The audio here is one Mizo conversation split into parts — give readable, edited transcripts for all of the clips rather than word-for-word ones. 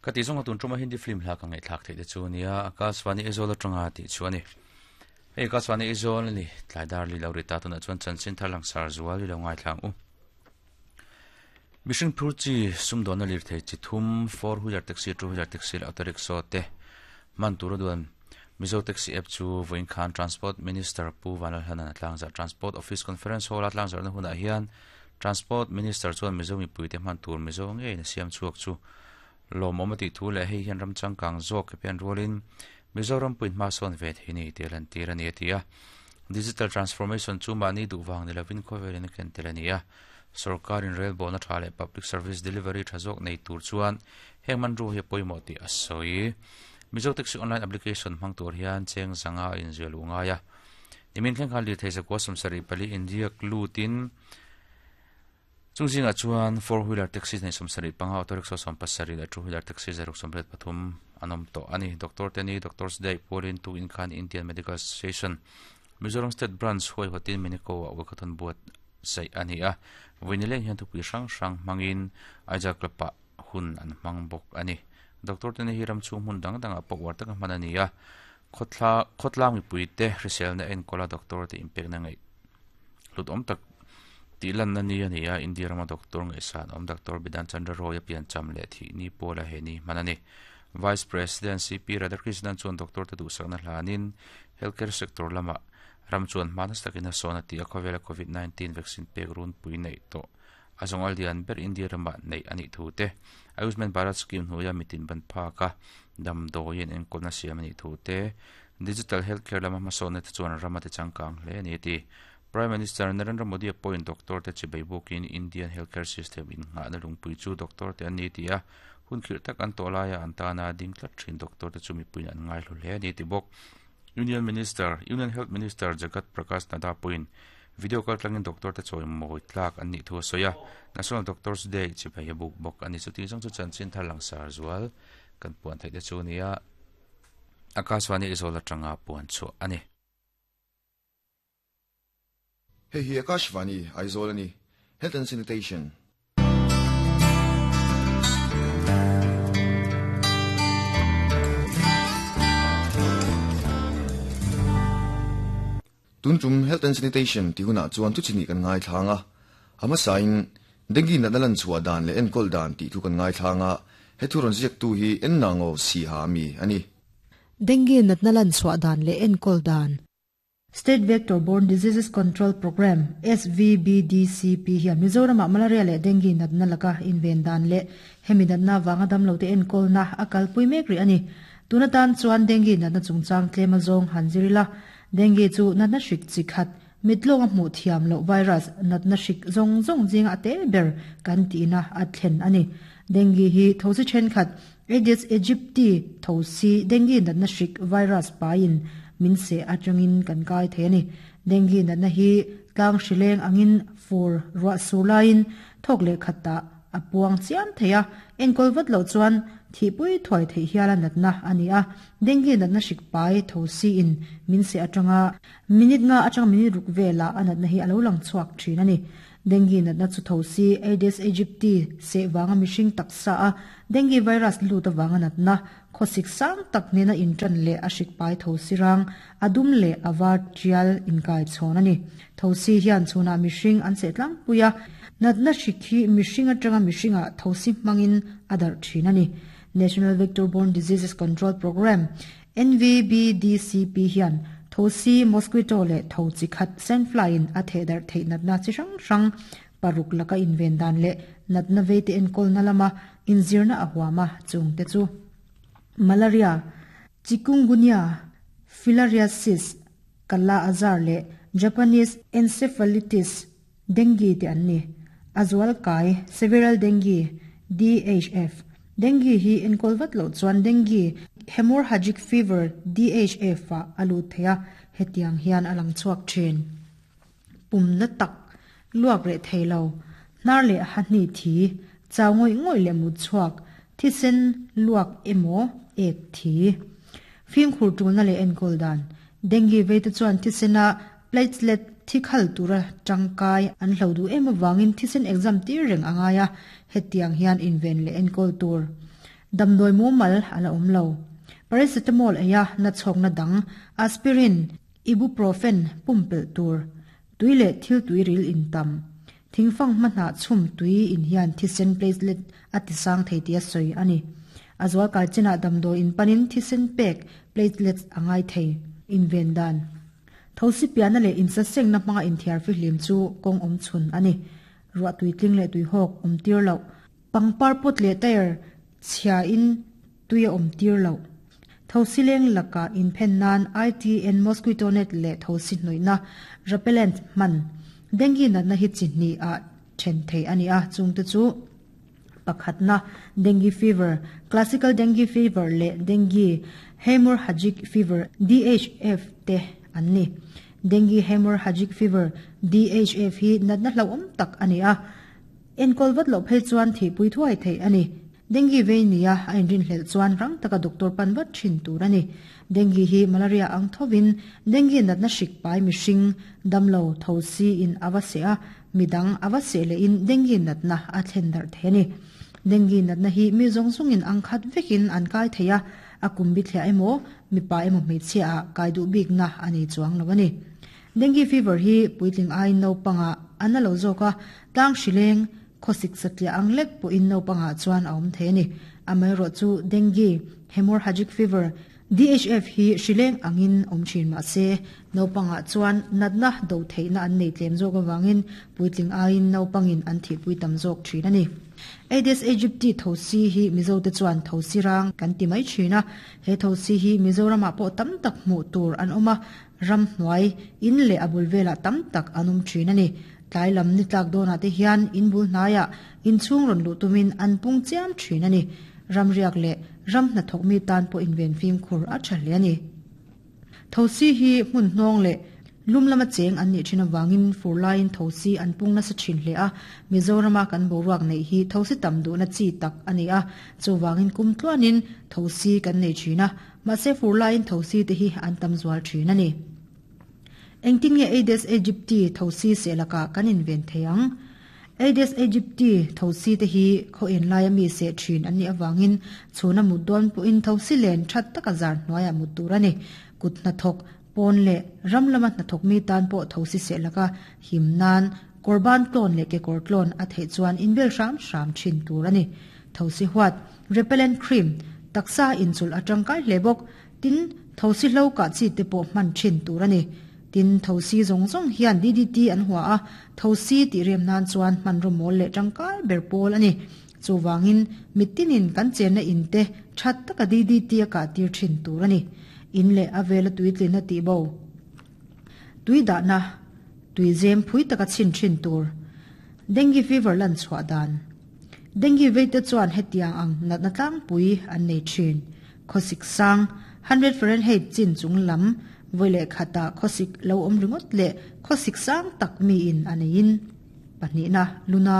Ka tih zawnga tun tuma Hindi film hla ka ngaihthlak theih te chu nia Akashvani Aizawl atanga tih chu a ni. Hei Akashvani Aizawl a ni tlai dar li lo ri ta tunah chuan chanchin thar langsar zual i lo ngaithla ang u. Mihring phur chi sumdawnna lirthei chi thum four wheeler taxi, two wheeler taxi leh auto rickshaw te hman tura duan Mizo Taxi App chu vawiin khan Transport Minister Pu Vanlalhlanan a tlangzarh. Transport Office Conference Hall a tlangzarhna hunah hian Transport Minister chuan Mizo mipuite hman tur Mizo ngeiin a siam chhuak chu lawmawm a tih thu leh hei hian ram changkang zawk ke pian rualin Mizoram puin hma sawn ve thei ni tih a lantir a ni a ti a. Digital Transformation chu mahni duh vang ni lovin khawvelin a ken tel a ni a. Sorkarin relbawhna tha leh public service delivery tha zawk nei tur chuan heng hmanrua hi a pawimawh tih a sawi. Mizo Taxi Online Application hmang tur hian cheng zanga a inziah luh ngai a. Nimin thleng khan lirthei zakua 74 inriak lutin Chung zingah chuan four wheeler taxi nei 75, auto rickshaw 17 leh two wheeler taxi 173 an awm tawh a ni. Doctor te ni Doctors Day pualin tukin khan Indian Medical Association Mizoram State Branch huaihawtin Minico ah Walkathon buatsaih a ni a. Vawi nileng hian thupui hrang hrang hmangin Aijal Club ah hun an hmang bawk a ni. Doctor te ni hi ram chhung hmun dang dangah pawh uar taka hman a ni a. Khawthla khawtlang mipuite hriselna enkawla doctor te inpekna ngaih hlut awm tak tih lanna ni a ni a, India rama doctor ngaihsan awm Doctor Bidhan Chandra Roy a piancham leh thih ni pawla he ni hman a ni. Vice President CP Radhakrishnan chuan doctor te duhsakna hlanin healthcare sector lamah ram chuan hma nasa takin a sawn a ti a, khawvela Covid 19 vaccine pek runpui neih tawh a zawngal lian ber India ramah neih a nih thu te, Ayushman Bharat scheme hnuaia mitin ban phaka damdawiin enkawlna siam a nih thu te, Digital healthcare lama hmasawnna te chuan ram a ti changkang hle a ni a ti. Prime Minister Narendra Modi a pawhin doctor te chibei bukin Indian healthcare system innghahna lungpui chu doctor te an ni ti a, hun khirh tak an tawh laia an tana ding tlat thin doctor te chu mipuiin an ngaihlu hle a ni ti bawk. Union Minister, Union Health Minister Jagat Prakash Nadda pawhin video kaltlangin doctor te chawi mawi tlak an nih thu a sawi a, National Doctors Day chibei a buk bawk a ni. Chutih zawng chu chanchin thar langsar zual kan puan theih te chu a ni a. Akashvani Aizawl atanga puan chhuah a ni. Hei hi Akashvani Aizawl a ni. Health and Sanitation. Tun tum Health and Sanitation tih hunah chuan thu chini kan ngaithlang a, a hmasain Dengue natna lan chhuah dan leh enkawl dan tih thu kan ngaithlang a, he thu rawn ziaktu hi Enna Ngo Siha mi a ni. Dengue natna lan chhuah dan leh enkawl dan. State Vector Borne Diseases Control Programme, SVBDCP, hian Mizoramah malaria leh dengue natna laka inven dan leh hemi natna avanga damlote enkawlna a kalpui mek rih a ni. Tun atan chuan dengue natna chungchang tlem a zawng han zir ila, Dengue chu natna hrik chi khat, mitlawng a hmuh thiam loh virus natna hrik zawng zawng zinga a te ber kan tihna a thlen a ni. Dengue hi thosi thenkhat, Aedes aegypti thosi dengue natna hrik virus paiin min seh atangin kan kai thei a ni. Dengue natna hi tlang hrileng angin fur ruah sur laiin thawk leh khatah a puang chiam thei a, enkawl vat loh chuan thihpui thuai theih hiala natna a ni a. Dengue natna hrik pai tho siin min seh atanga minute nga atanga minute ruk velah a natna hi a lo lang chhuak thin a ni. Dengue natna chu tho si Aedes aegypti seh vanga mihring taksa a dengue virus lut avanga natna khawsik sang tak nena intan leh a hrik pai tho si rang a dum leh a var tial inkai chhawn a ni. Tho si hian chhunah mihring an seh tlangpui a, natna hrik hi mihring atanga mihringah tho si hmangin a darh thin a ni. National Vector Borne Diseases Control Programme, NVBDCP, hian thosi, mosquito, leh tho chi khat, sandfly, in a thehdarh theih natna chi hrang hrang paruk laka inven dan leh natna veite enkawlna lama inzirna a huam a, chungte chu malaria, chikungunya, filariasis, kala azar leh Japanese encephalitis, Dengue te an ni. A zual kai, Several Dengue, DHF. Dengue hi enkawl vat loh chuan Dengue Hemorrhagic Fever, DHF, ah a lut thei a, hetiang hian a lang chhuak thin. Pumna tak, luak reh thei lo, hnar leh hahni thi, chau ngawih ngawih leh mut chhuak, thisen luak emaw ek thi. Fimkhur tulna leh enkawl dan, Dengue veite chuan thisena Platelet thi khal tura tangkai an hlo duh em avangin thisen exam tir reng a ngai a, hetiang hian inven leh enkawl tur. Damdawi mumal a la awm lo. Paracetamol eia nachhawkna dang, aspirin, ibuprofen pumpelh tur, tui leh thil tuiril in tam. Thingfang hma hnah chhum tui in hian thisen platelet a tisang thei tih a sawi a ni. A zual kai chinah damdawi in panin thisen pek platelets a ngai thei. Inven dan. Thosi piahna leh insasengna hmanga inthiar fihlim chu kawng awm chhun a ni. Ruah tuitling leh tuihawk awm tir loh. Pangpar pot leh tyre chhia in tui a awm tir loh. Thosi leng lakah inphen nan ITN mosquito net leh thosi hnawihna repellent hman. Dengue natna hi chi hnih ah then theih a ni a, chungte chu pakhatna dengue fever, classical dengue fever leh dengue haemorrhagic fever, DHF, te an ni. Dengue haemorrhagic fever, DHF, hi natna hlauhawm tak a ni a. Enkawl vat loh phei chuan thihpui thuai theih a ni. Dengue vei nia a inrinhlelh chuan rang taka doctor pan vat thin tur a ni. Dengue hi malaria ang thovin dengue natna hrik pai mihring, damlo, thosi in a va seh a, midang a va seh lehin dengue natna a thlen darh thei a ni. Dengue natna hi mi zawng zawngin ang khat vekin an kai thei a, a kum bithliah emaw, mipa emaw hmeichhia ah kai duh bikna a nei chuang lo a ni. Dengue fever hi puitling aiin naupangah a na lo zawk a, tlang hrileng, khawsik satliah ang lek pawhin naupangah chuan a awm thei a ni. Amaherawh chu dengue, hemorrhagic fever, DHF hi hrileng angin awm thin mah se, naupangah chuan natna do theihna an nei tlem zawk avangin puitling aiin naupangin an thihpui tam zawk thin a ni. Aedes aegypti thosi hi Mizote chuan thosi rang kan ti mai thin a, he thosi hi Mizoramah pawh tam tak hmuh tur an awm a, Ramhnuai, in leh a bul velah tam tak an awm thin a ni. Tlai lam ni tlak dawnah te hian in bul hnaiah inchhung rawn luh tumin an pung chiam thin a ni. Ramriak leh ram hnathawk mi tan pawh inven fimkhur a tha hle a ni. Thosi hi hmun hnawng leh lum lama cheng an nih thin avangin fur laiin thosi an pung nasa thin hle a. Mizorama kan boruak neih hi thosi tam duhna chi tak a ni a, chuvangin kum tluanin thosi kan nei thin a. Mahse fur laiin thosi te hi an tam zual thin a ni. Engtin nge Aedes aegypti thosi seh lakah kan inven thei ang? Aedes aegypti thosi te hi khaw en laia mi seh thin an nih avangin chhuna mut dawn pawhin thosi len that taka zar hnuaiah mut tur a ni. Kut hnathawk, pawn leh ram lama hnathawk mi tan pawh thosi seh laka him nan kawrban tlawn leh kekawr tlawn a theih chuan inbel hram hram thin tur a ni. Thosi huat, repellent cream, taksa inchulh a tangkai hle bawk. Tin, thosi hlo kah chi te pawh hman thin tur a ni. Tin, thosi zawng zawng hian DDT an hua a, thosi tih rem nan chuan hmanraw mawl leh tangkai ber pawl a ni. Chuvangin, mitinin kan chenna in te that taka DDT a kah tir thin tur a ni. In leh a vela tuitlina tih bo. Tui dahna, tui zem phui taka chhin thin tur. Dengue fever lan chhuah dan. Dengue veite chuan hetiang ang natna tlangpui an nei thin. Khawsik sang, 100 Fahrenheit chin chung lam, vawi leh khatah khawsik lo awm ringawt leh khawsik sang tak miin a neiin. Pahnihna, luna.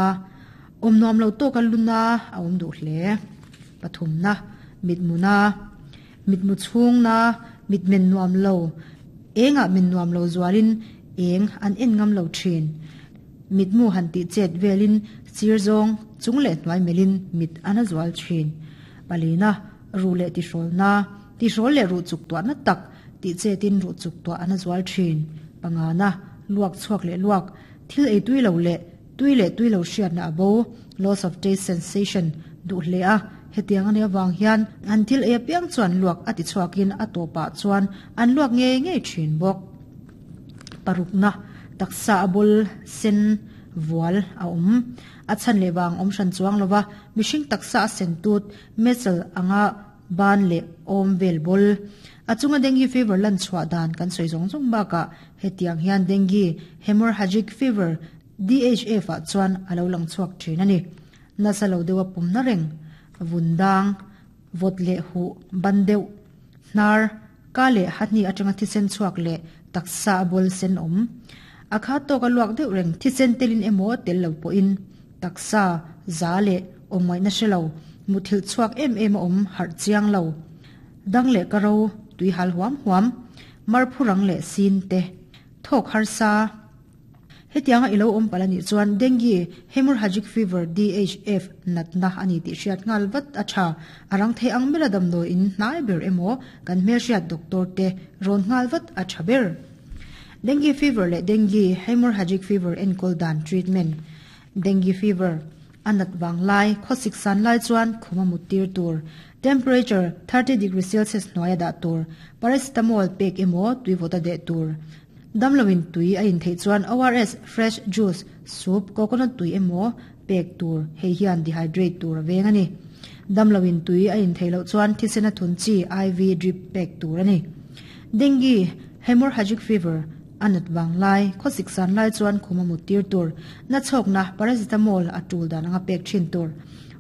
Awm nuam lo tawka luna a awm duh hle. Pathumna, mitmuna. Mitmu chhungna, mitmen nuam lo. Engah min nuam lo zualin eng an en ngam lo thin. Mitmu han tih chet velin sir zawng chung leh hnuai melhin mit a na zual thin. Palina, ruh leh tihrawlna, tihrawl leh ruh chuk tuahna tak tih chetin ruh chuk tuah a na zual thin. Pangana, luak chhuak leh luak, thil ei tui lo leh tui leh tui lo hriatna a bo, loss of taste sensation, duh hle a, hetiang a nih avang hian an thil ei apiang chuan luak a ti chhuakin a tawpah chuan an luak ngei ngei thin bawk. Parukna, taksa a bul sen vual a awm. A chhan leh vang awm hran chuang lova, mihring taksa a sen tut, metal anga ban leh awm vel bawl. A chunga dengue fever lan chhuah dan kan sawi zawng zawng bakah hetiang hian dengue hemorrhagic fever, DHF, ah chuan a lo lang chhuak thin a ni. Nasa lo deuha pumna reng, vun dang, vawt leh huh ban deuh, hnar, Ka leh hahni atanga thisen chhuak leh taksa a bawl sen awm. A kha tawk a luak deuh reng thisen telin emaw tel lo pawhin taksa za leh awm ngaihna hre lo, muthilh chhuak em em a awm harh chiang lo. Dang leh ka ro, tui hal huam huam, mar phurang leh sin te, thawk harsa. Hetianga i lo awm palh a nih chuan Dengue Hemorrhagic Fever, DHF, natna a ni tih hriat nghal vat a tha. A rang thei ang bera damdawi in hnai ber emaw kan hmelhriat doctor te rawn nghal vat a tha ber. Dengue Fever leh Dengue Hemorrhagic Fever enkawl dan treatment Dengue Fever a nat vang lai, khawsik san lai chuan khum a mut tir tur, temperature 30 degree Celsius hnuaia dah tur, paracetamol pek emaw tui vawt a deh tur. Damloin tui a in theih chuan ORS, fresh juice, soup, coconut tui emaw pek tur, hei hian dehydrate tur a veng a ni. Damloin tui a in theih loh chuan thisen a thun chi IV drip pek tur a ni. Dengue, hemorrhagic fever, a nat vang lai, khawsik san lai chuan khum a mut tir tur, na chhawkna, paracetamol, a tul dan anga pek thin tur.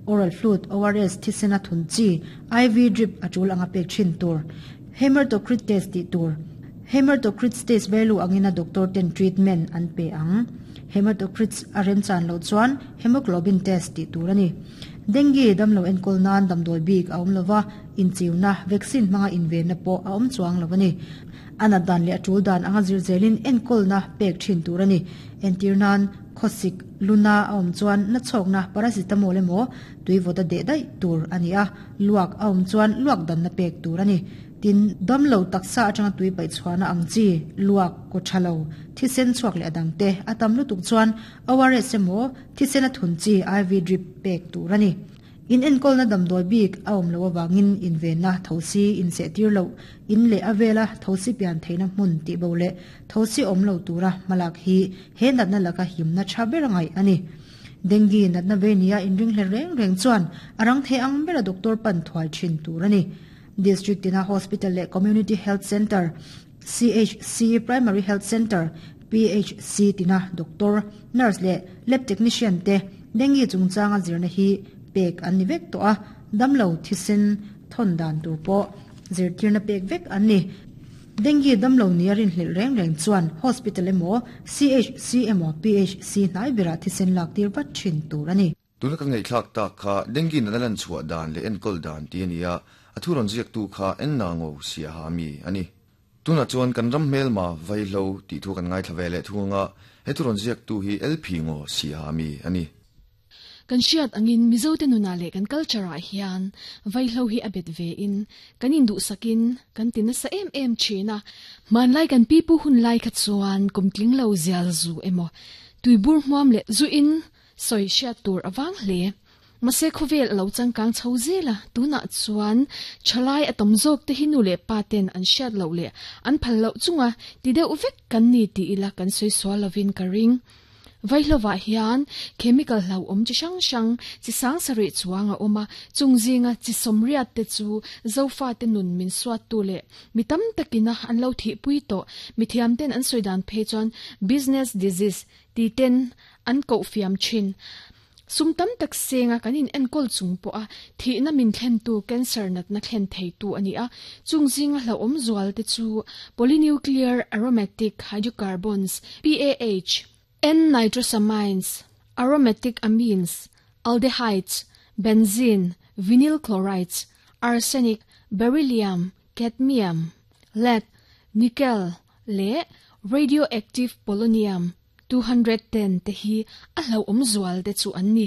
Oral fluid, ORS, thisen a thun chi IV drip a tul anga pek thin tur. Hematocrit test tih tur. Hematocrit test value angin a doctor ten treatment an pe ang. Hematocrit a remchan loh chuan hemoglobin test tih tur a ni. Dengue damlo enkawl nan damdawi bik a awm lova, inchiuna, vaccine hmanga invenna pawh a awm chuang lo a ni. A nat dan leh a tul dan anga zir zelin enkawlna pek thin tur a ni. Entir nan, khawsik, luna a awm chuan na chhawkna paracetamol emaw tui vawt a deh daih tur a ni a, luak a awm chuan luak danna pek tur a ni. Tin, damlo taksa atanga tui paih chhuahna ang chi, luak, kaw tha lo, thisen chhuak leh a dangte a tam lutuk chuan ORS emaw thisen a thun chi IV drip pek tur a ni. In enkawlna damdawi bik a awm loh avangin invenna thosi insehtir loh, in leh a vela thosi pian theihna hmun tih bo leh thosi awm lo tura hmalak hi he natna laka himna tha ber a ngaih a ni. Dengue natna ve nia inringhlel reng reng chuan a rang thei ang bera doctor pan thuai thin tur a ni. District tina Hospital leh Community Health Centre, CHC, Primary Health Centre, PHC, tina doctor, nurse leh lab technician te dengue chungchanga zirna hi pek an ni vek tawh a, damlo thisen thawn dan tur pawh zirtirna pek vek an ni. Dengue damlo nia rinhlelh reng reng chuan hospital emaw, CHC emaw, PHC hnai berah thisen lak tir vat thin tur a ni. Tuna ka ngaihthlak tak kha dengue natna lan chhuah dan leh enkawl dan tih a ni a, a thu rawn ziaktu kha Enna Ngo Siaha mi a ni. Tunah chuan kan ram hmelma Vaihlo tih thu kan ngaithla ve leh thung anga, he thu rawn ziaktu hi LP Ngo Siaha mi a ni. Kan hriat angin Mizote nunah leh kan culture ah hian Vaihlo hi a bet ve in kan induhsakin kan ti nasa em em thin a. Hmanlai kan pipu hun lai kha chuan kum tling lo zial zu emaw tuibur hmuam leh zu in Sawi hriat tur a vang hle. Mahse khawvel a lo changkang chho zel a, tunah chuan thalai a tam zawk te hi nu leh pa ten an hriat loh leh an phal loh chunga ti deuh vek kan ni tih ila kan sawi sual lovin ka ring. Vaihlovah hian chemical hlauhawm chi hrang hrang chi sang sarih chuang a awm a, chung zinga chi sawmriat te chu Zofate nun min suattu leh mi tam takina an lo thihpui tawh mithiam ten an sawi dan phei chuan business disease Ti ten an koh fiam thin. Sum tam tak senga kan in enkawl chung pawha thihna min thlentu cancer natna thlen theitu a ni a, chung zinga hlauhawm zual te chu polynuclear aromatic hydrocarbons, PAH, N-nitrosamines, aromatic amines, aldehydes, benzene, vinyl chlorides, arsenic, beryllium, cadmium, lead, nickel, leh radioactive polonium 210 te hi a hlauhawm zual te chu an ni.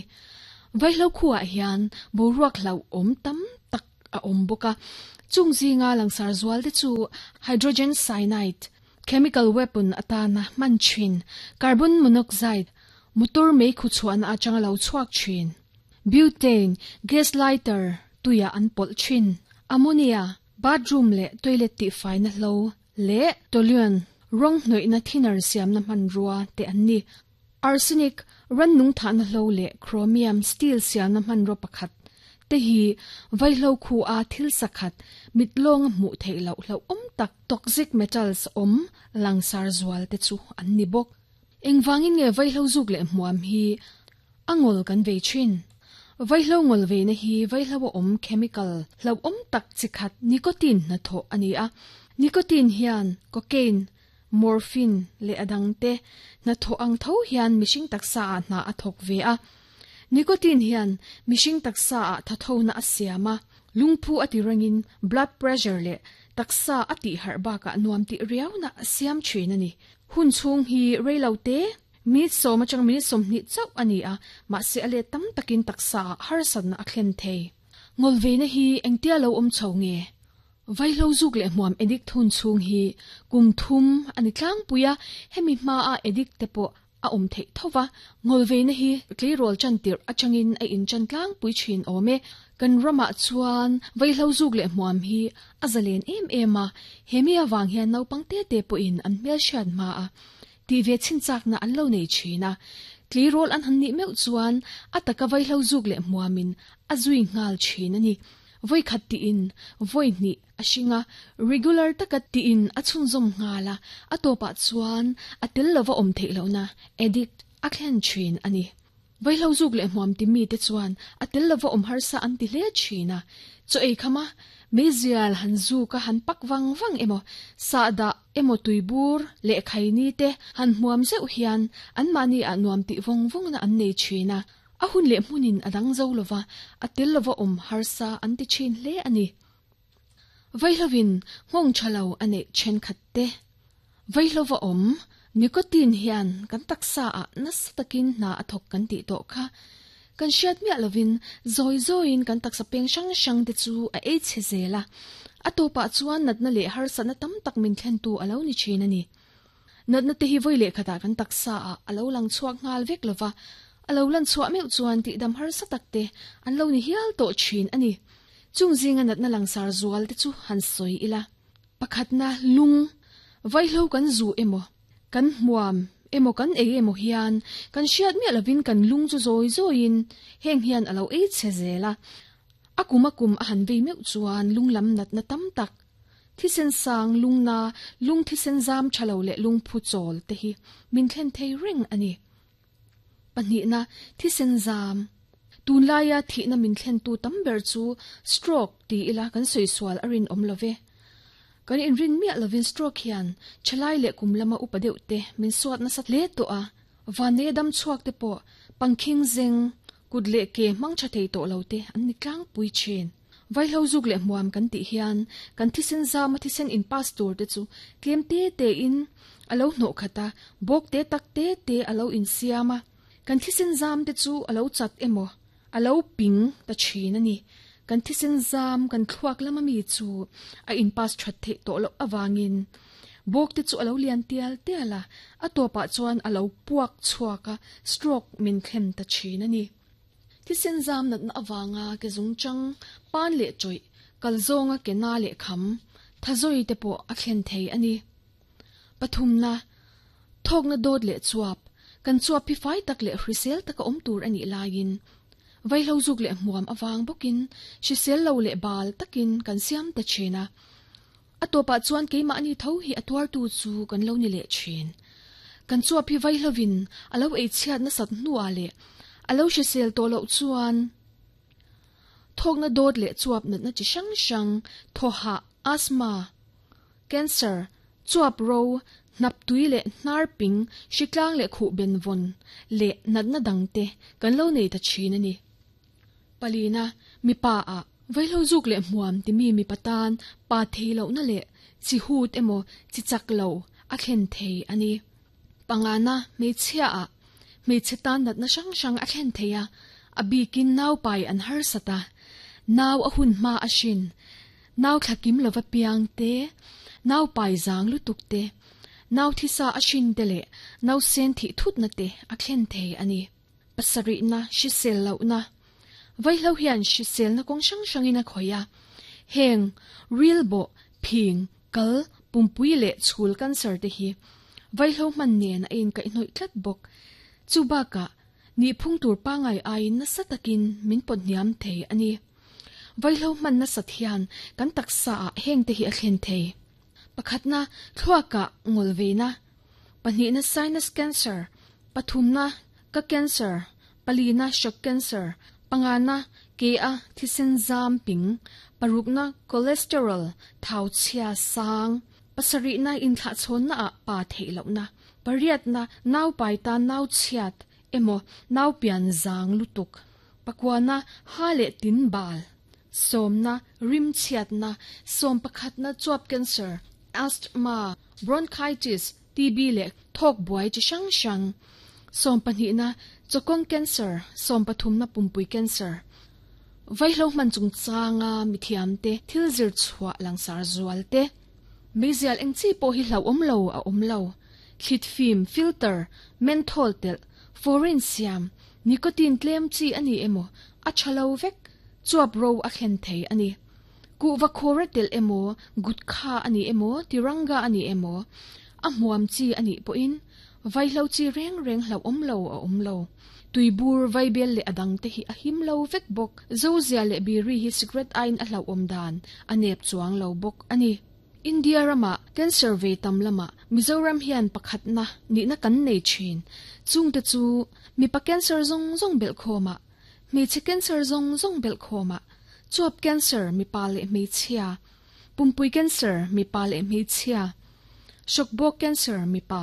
Vaihlo khuaah hian boruak hlauhawm tam tak a awm bawk a, chung zinga langsar zual te chu hydrogen cyanide, chemical weapon atana hman thin, carbon monoxide, motor meikhu chhuahna atanga lo chhuak thin, butane, gas lighter, tuiah an pawlh thin, ammonia, Bathroom leh toilet tihfaina hlo leh toluene rawng hnawihna thinner siamna hmanrua te an ni. Arsenic rannung thahna hlo leh chromium steel siamna hmanraw pakhat te hi vaihlo khu a thil sakhat mit lawnga hmuh theih loh hlauhawm tak toxic metals awm langsar zual te chu an ni bawk. Engvangin nge vaihlo zuk leh hmuam hi A ngawl kan vei thin. Vaihlo ngawl veina hi vaihlo a awm chemical hlauhawm tak chi khat nicotine hnathawh a ni a. Nicotine hian cocaine, morphine leh a dangte hnathawh ang tho hian mihring taksa ah hna a thawk ve a. Nicotine hian mihring taksa ah thathona a siam a, lungphu a ti rengin blood pressure leh taksa a tihharh bakah nuam tih riauna a siam thin a ni. Hun chhung hi reilo te. Minute sawm atang minute 20 chauh ani a, mahse a let tam takin taksa ah harsatna a thlen thei. Ngawlveina hi engtia lo awm chho nge? Vaihlo zuk leh hmuam addict hun chhung hi kum thum a ni tlangpui a, hemi hmaa addict te pawh a awm theih tho va. Ngawlveina hi tleirawl chan tirh atangin a inchan tlangpui thin awm e. Kan ramah chuan vaihlo zuk leh hmuam hi a zalen em em a, hemi avang hian naupang te te pawhin an hmelhriat hma a tih ve chinchakna an lo nei thin a. Tleirawl an han nih meuh chuan a taka vaihlo zuk leh hmuamin a zui nghal thin a ni. Vawi khat tiin vawi hnih a hring a, regular taka tiin a chhunzawm nghal a, a tawpah chuan a tel lova awm theih lohna, addict, a thlen thin a ni. Vaihlo zuk leh hmuam ti mite chuan a tel lova awm harsa an ti hle thin a, chaw ei khama meizial han zuk a han pak vang vang emaw, sahdah emaw tuibur leh khaini te han hmuam zeuh hian anmahni ah nuam tih vawng vawngna an nei thin a, A hun leh hmunin a dang zo lova, a tel lova awm harsa an ti thin hle a ni. Vaihlovin nghawng tha lo a neih thenkhat te. Vaihlova awm nicotine hian kan taksa ah nasa takin hna a thawk kan tih tawh kha. Kan hriat miah lovin zawi zawiin kan taksa peng hrang hrang te chu a ei chhe zel a, a tawpah chuan natna leh harsatna tam tak min thlentu a lo ni thin a ni. Natna te hi vawi leh khatah kan taksa ah a lo lang chhuak nghal vek lova, a lo lan chhuah meuh chuan tihdam harsa tak te an lo ni hial tawh thin a ni. Chung zinga natna langsar zual te chu han sawi ila. Pakhatna, lung, vaihlo kan zu emaw, kan hmuam emaw kan ei emaw hian kan hriat miah lovin kan lung chu zawi zawiin heng hian a lo ei chhe zel a. A kum a kum a han vei meuh chuan lung lam natna tam tak Thisen sang, lungna, lung thisen zam tha lo leh lungphu chawl te hi min thlen thei reng a ni. Pahnihna, thisen zam. Tunlaia thihna min thlentu tam ber chu stroke ti ila kan sawi sual a rinawm lo ve. Kan inrin miah lovin stroke hian thalai leh kum lama upa deuh te min suat nasa hle tawh a, vanneia dam chhuak te pawh pangkhing zeng, kut leh ke hmang tha thei tawh lo te an ni tlangpui thin. Vaihlo zuk leh hmuam kan tih hian kan thisen zama thisen in pass tur te chu tlem te te in a lo hnawh khat a, bawk te tak te te a lo insiam a, kan thisen zam te chu a lo chat emaw a lo ping ta thin a ni. Kan thisen zam kan thluak lama mi chu a in pass that theih tawh loh avangin bawk te chu a lo lian tial tial a, a tawpah chuan a lo puak chhuak a, stroke min thlem ta thin a ni. Thisen zam natna avanga ke zungchang, pan leh chawih, kal zawnga ke na leh kham, thazawi te pawh a thlen thei a ni. Pathumna, Thawkna dawt leh chuap, kan chuap hi fai tak leh hrisel taka awm tur a nih laiin, vaihlo zuk leh hmuam avang bawkin hrisel lo leh bal takin kan siam ta thin a. A tawpah chuan keimahni tho hi a tuartu chu kan lo ni leh thin. Kan chuap hi vaihlovin a lo eichhiat nasat hnuah leh a lo hrisel tawh loh chuan thawkna dawt leh chuap natna chi hrang hrang, thawhah, asthma, cancer, chuap ro, hnap tui leh hnar ping, hritlang leh khuh benvawn leh natna dangte kan lo nei ta thin a ni. Palina, mipa ah vaihlo zuk leh hmuam timi mipa tan pa thei lohna leh chi hut emaw chi chak lo a thlen thei a ni. Pangana, hmeichhia ah hmeichhe tan natna hrang hrang a thlen thei a, a bikin nau pai an harsat a, nau a hun hma a hrin, nau thla kim lova piang te, nau pai zang lutuk te, nau thisa a hrin te leh nau sen thih thutna te a thlen thei a ni. Pasarihna, hrisel lohna. Vaihlo hian hriselna kawng hrang hrangin a khawih a. Heng, rilbawh, phing, kal, pumpui leh chhul cancer te hi vaihlo hman nen a inkaihhnawih tlat bawk. Chu bakah, nihphung tur pangai aiin nasa takin min pawt hniam thei a ni. Vaihlo hman nasat hian kan taksa ah heng te hi a thlen thei. Pakhatna, thluakah ngawlveina. Pahnihna, sinus cancer. Pathumna, ka cancer, palina, shock cancer, pangana, ke a thisen zam ping, parukna, cholesterol, thau chhia sang, pasarihna, inthlahchhawnna ah pa theih lohna, pariatna, nau pai tan nau chhiat emaw nau pian zang lutuk, pakuana, ha leh tin bal, sawmna, rim chhiatna, sawm pakhatna, chuap cancer, asthma, bronchitis, TB leh thawk buai chi hrang hrang. Sawmpahnih na chawkawng cancer, sawmpathum na pumpui cancer. Vaihlo hman chungchanga mithiam te thil zir chhuah langsar zual te. Meizial eng chi pawh hi hlauhawm lo a awm lo. Thlit fim, filter, menthol telh, foreign siam, nicotine tlem chi a ni emaw a tha lo vek, chuap ro a thlen thei a ni. Kuhva khawra telh emaw, gutkha a ni emaw, tiranga a ni emaw, a hmuam chi a nih pawhin vaihlo chi reng reng hlauhawm lo a awm lo. Tuibur, vaibel leh a dangte hi a him lo vek bawk. Zozia leh biri hi cigarette aiin a hlauhawm dan a nep chuang lo bawk a ni. India ramah cancer ve tam lamah Mizoram hian pakhatna nihna kan nei thin. Chungte chu mipa cancer zawng zawng belhkhawmah, hmeichhe cancer zawng zawng belhkhawmah, chuap cancer mipa leh hmeichhia, pumpui cancer mipa leh hmeichhia, hrawkbawk cancer mipa,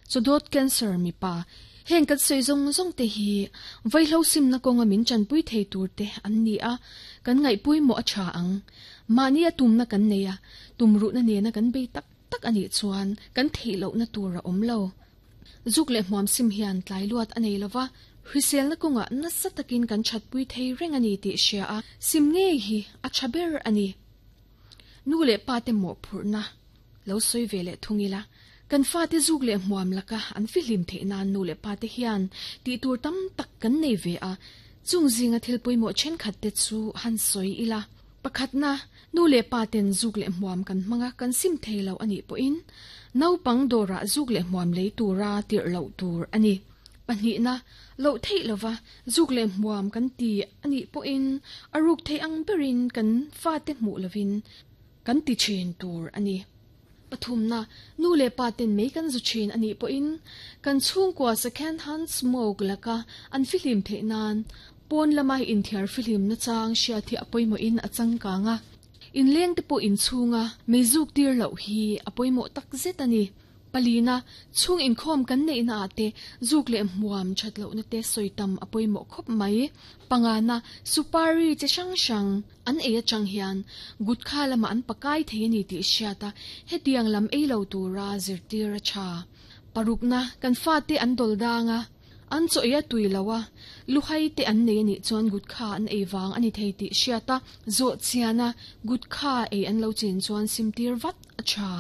chawdawt cancer mipa, heng kan sawi zawng zawng te hi vaihlo simna kawnga min chanpui thei tur te an ni a, kan ngaihpawimawh a tha ang. Mahni a tumna kan nei a, tumruhna nena kan bei tak tak a nih chuan kan theih lohna tur a awm lo. Zuk leh hmuam sim hian tlai luat a nei lova, hriselna kawngah nasa takin kan thatpui thei reng a ni tih hria a, sim ngei hi a tha ber a ni. Nu leh pa te mawhphurhna lo sawi ve leh thung ila, kan fate zuk leh hmuam laka an fihlim theih nan nu leh pa te hian tih tur tam tak kan nei ve a, chung zinga thil pawimawh thenkhat te chu han sawi ila. Pakhatna, nu leh pa ten zuk leh hmuam kan hmang a, kan sim thei lo a nih pawhin naupang dawrah zuk leh hmuam lei tura tirh loh tur a ni. Pahnihna, loh theih lova zuk leh hmuam kan ti a nih pawhin a ruk theih ang berin kan fate hmuh lovin kan ti thin tur a ni. Pathumna, nu leh pa ten mei kan zu thin a nih pawhin kan chhungkua second hand smoke laka an fihlim theih nan pawn lama inthiar fihlim nachang hriat hi a pawimawhin a changkang a. Inleng te pawh inchhunga mei zuk tir loh hi a pawimawh tak zet a ni. Palina, chhung inkhawm kan neihna ah te zuk leh hmuam that lohna te sawi tam a pawimawh khawp mai. Pangana, supari che hrang hrang an ei atang hian gutkha lamah an pakai thei a ni tih hriat a, hetiang lam ei lo tura zirtir a tha. Parukna, kan fate an dawl dang a, an chaw ei a tui lo a, luhai te an nei a nih chuan gutkha an ei vang a ni thei tih hriat a, zawh chian a, gutkha ei an lo chin chuan simtir vat a tha.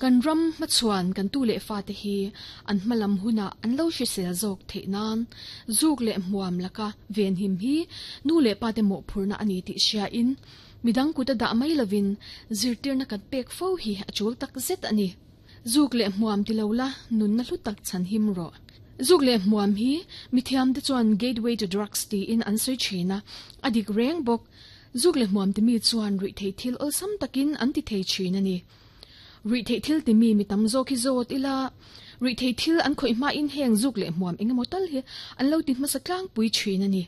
Kan ram hmachhuan kan tu leh fate hi an hmalam hunah an lo hrisel zawk theih nan zuk leh hmuam laka venhim hi nu leh pate mawhphurhna a ni tih hriain midang kut a dah mai lovin zirtirna kan pek fo hi a tul tak zet a ni. Zuk leh hmuam ti lo la nunna hlu tak chhan him rawh. Zuk leh hmuam hi mithiamte chuan gateway to drugs tiin an sawi thin a, a dik reng bawk. Zuk leh hmuam timi chuan ruihtheih thil awlsam takin an ti thei thin a ni. Ruihtheih thil timi mi tam zawk hi zawt ila, ruihtheih thil an khawih hmain heng zuk leh hmuam eng emaw tal hi an lo ti hmasa tlangpui thin a ni.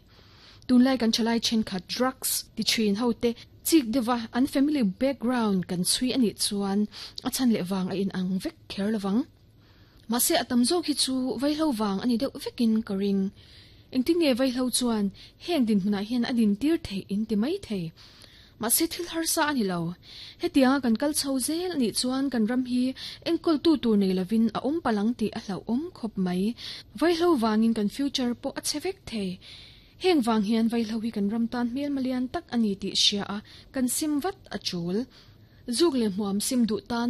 Tunlai kan thalai thenkhat drugs ti thin ho te chik deuha an family background kan chhui a nih chuan a chhan leh vang a inang vek kher lovang. Mahse a tam zawk hi chu vaihlo vang a ni deuh vekin ka ring. Engtin nge vaihlo chuan heng dinhmunah hian a dintir theih in ti mai thei. Mahse thil harsa a ni lo. Hetianga kan kal chho zel a nih chuan kan ram hi enkawltu tur nei lovin a awm palh ang tih a hlauhawm khawp mai. Vaihlo vangin kan future pawh a chhe vek thei. Heng vang hian vaihlo hi kan ram tan hmelma lian tak a ni tih hria a kan sim vat a tul. Zuk leh hmuam sim duh tan.